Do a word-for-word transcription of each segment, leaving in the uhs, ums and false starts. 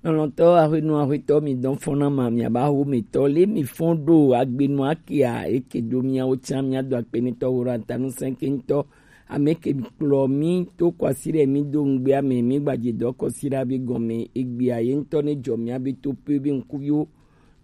Lɔlɔ̃tɔ, aƒenɔ, aƒetɔ, mi dɔn fɔna ma, mi aba ho mi tɔ le mi fɔn ɖo agbenu akia eke do miawo tsa mia do akpe ni tɔ wo ra ta nu sɛnke ŋutɔ. Ame ke kplɔ mi to kɔsi ɖe mi do ŋgbea me, mi gbadze dɔ kɔsi ɖa be gɔme egbea ye ŋutɔ ne dzɔ mia be to pe be ŋkuviwo.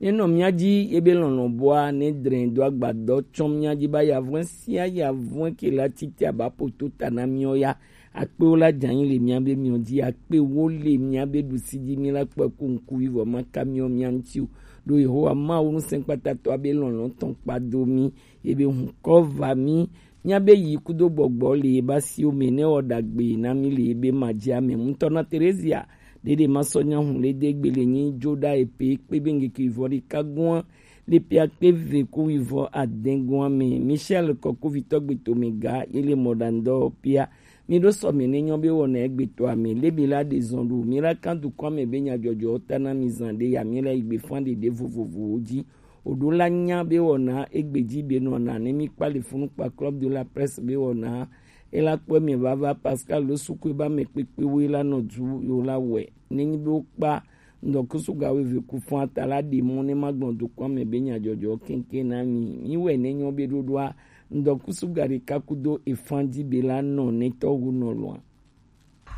Ne nɔ mia dzi ye be lɔlɔ̃ bɔa ne drɛ do agbadɔ tsɔ mia dzi ba yavɔe sia yavɔe ke la titi aba poto ta na miɔ ya. Akpewo la dzanyi le mia be miɔ dzi, akpewo le mia be ɖusi dzi mi la kpɔ ku ŋku vivɔ ma ka miɔ mia ŋuti o. Ɖo Yehowa Mawu ŋusẽkpatatɔa be lɔlɔ̃ tɔn kpa do mi, ye be hunkɔ va mi, mia be yi kudo gbɔgbɔ le ye ba siwo me ne wɔ ɖagbe na mi le ye be ma dzi ame ŋutɔ na Terezia. Ɖeɖe ma sɔ nya hun le de gbe le nyi dzo ɖa epe kpe be ŋgeke vivɔ ɖeka gua le pia kpe ve ku vivɔ adɛn gua me. Michel kɔkuvitɔ gbe to mi ga ye le mɔ ɖa ŋdɔ pia. Mi ɖo sɔ mi ne nyɔ be wɔna egbe to ame le mi la ɖe zɔn ɖo mi la kan dukɔ ame be nya dzɔdzɔ ta na mi zan ɖe ya mi la yi gbe fan ɖe ɖe vovovowo dzi. Oɖo la nya be wɔna egbe dzi be nɔ na ne mi kpa le funu kpa Club de la Presse be wɔna ela kpɔ mi vava Pascal lo suku ba me kpekpe wo la nɔ du yo la wɛ ne nyi be wo kpa ŋdɔkusu ga wo ve ku fun ata la ɖe mɔ ne ma gbɔn dukɔ ame be nya dzɔdzɔ kenken na mi mi wɛ ne nyɔ be ɖoɖoa ŋdɔkusu ga ɖeka kudo efan dzi be la nɔ ne tɔ wo nɔ lɔa.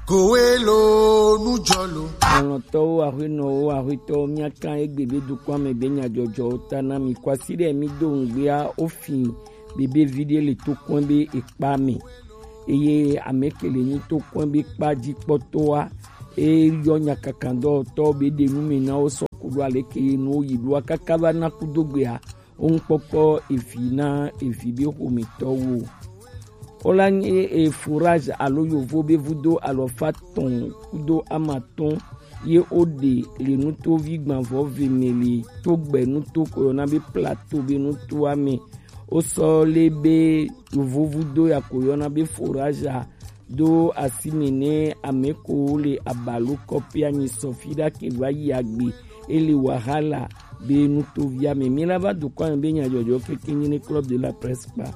Kowe lo nujɔ lo. Lɔlɔ̃tɔwo, aƒenɔwo, aƒetɔwo, mia kan egbe be dukɔa me be nyadzɔdzɔwo ta na mi. Kɔasi ɖe mi do ŋgbea wo fi bebe vi ɖe le to kɔn be ekpa me. Eye ame ke le nyi to kɔn be kpa dzi kpɔtɔa, e yɔ nyakakandɔtɔ be ɖe nu me na wo sɔ ku ɖo ale ke ye nu wo yi ɖoa kaka va na kudo gbea. Oŋkpɔkpɔ evi na evi be xometɔwo. Wola nye e forage alo yovo be vudo alɔfa tɔn kudo amatɔn ye woɖe le nutovi gbanvɔ ve me le to gbe nuto ko yɔna be plateau be nutoa me. Wosɔ le be yovo vudo ya ko yɔna be forage a do asime ne ame ko le abalo kɔpia nyi sɔfi ɖa ke va yi agbe ele wahala be nutovia me. Mi la va dukɔ ame be nyadzɔdzɔ keke nyi ne Club de la Presse kpa.